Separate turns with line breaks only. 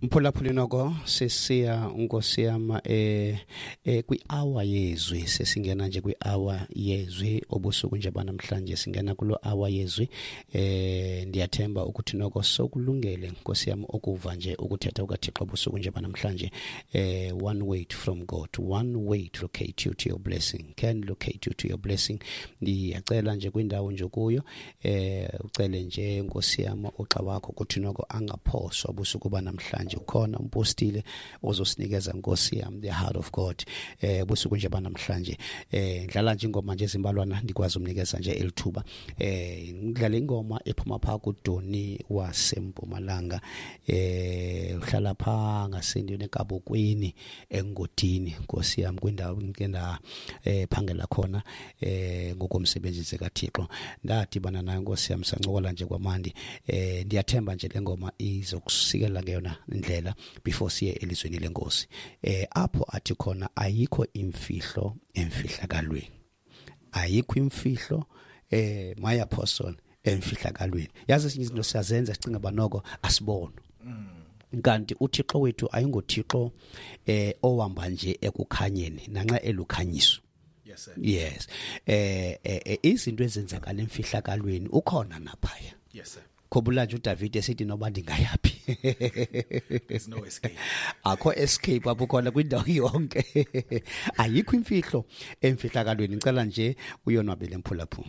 Mphulaphuli, noko sesiya, nkosi yam, kwi-hour yezwi. Sesingena nje kwi-hour yezwi obusuku nje banamhlanje, singena kulo hour yezwi. Ndiyathemba ukuthi noko sokulungele, nkosi yam, ukuva nje ukuthetha kukaThixo obusuku nje banamhlanje. One word from God, one word locate you to your blessing, can locate you to your blessing. Ndiyacela nje kwindawo nje kuyo, ucele nje, nkosi yam, uxa wakho kuthi noko angaphoswa busuku banamhlanje. Ukhona umpostile ozosinikeza, nkosi yam, the heart of God busuku nje banamhlanje. Ndlala nje ingoma nje ezimbalwana, ndikwazi umnikeza nje elithuba. Ngidlala ingoma ephuma phaa kuDoni waseMpumalanga, uhlala phaa ngasendweni eKabokweni eNgodini, nkosi yam, kwindawo ke nda phangela khona ngokomsebenzi kaThixo. Ndadibana naye, nkosi yam, sancokola nje kwamandi. Ndiyathemba nje le ngoma izokusikela ngeyona ndlela before siye elizweni lenkosi, apho athi khona ayikho imfihlo emfihlakalweni, ayikho imfihlo, my apostle, emfihlakalweni. Yazi, ezinye izinto siyazenza sicinga banoko asibona, kanti uThixo wethu ayingoThixo owamba nje ekukhanyeni nanxa elukhanyiso.
Yes sir.
Yes, izinto ezenzakala emfihlakalweni ukhona naphaya.
Yes sir.
Khumbula nje uDavid esithi noba ndingayaphi.
There's no escape.
Akho escape apho, khona kwindawo yonke. Ayikho imfihlo emfihlakalweni. Ngicela nje uyonwabele, mphulaphula.